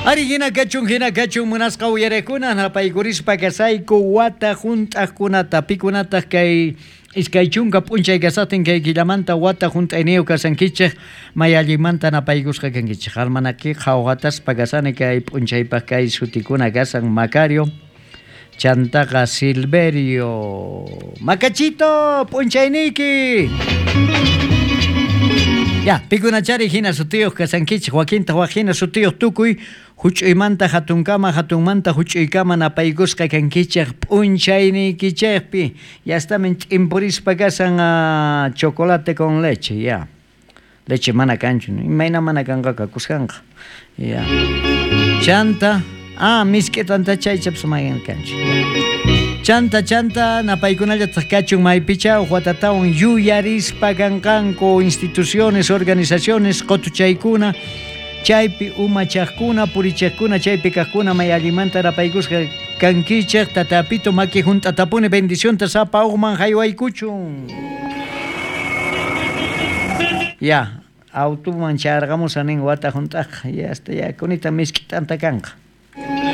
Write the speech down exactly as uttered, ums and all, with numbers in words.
Ari hina kachun hina kachun munasqa uyarekuna napaykurispa kasayku wata hunt'aqkunata pikunataq kay iskay chunka p'unchay kasaqtin kay killamanta wata hunt'ayniyuq kasankichik may allinmanta napaykusqa kankichik almanaki qhawqataspa kasani kay p'unchaypaq kay sutikuna kasan Macario chantaqa Silverio Macachito p'unchayniyki. Ya, pikunachari hina sutiyuq kasankichik wakintaq wak hina sutiyuq tukuy huch'uymanta hatunkama hatunmanta huch'uykama napaykusqa kankichik p'unchayniykichikpi ya estamen ch'impurispa kasan uh, chocolate con leche ya leche mana kanchu imayna mana kanqaqa kuskanqa ya chanta ah misk'i tantachay chaychapas mayan kanchu chanta chanta napaykunallataq kachun maypicha watatawan yuyarispa kanqanku instituciones organizaciones qotuchaykuna chaypi umachaqkuna purichaqkuna chaypi kaqkuna may allimanta napaykusqa kankichik tatapito maki hunt'atapuni bendicionta sapa uqman haywaykuchun ya autuman charqamusa nin wata hunt'aq ya hasta ya kunita misk'i t'anta kanqa.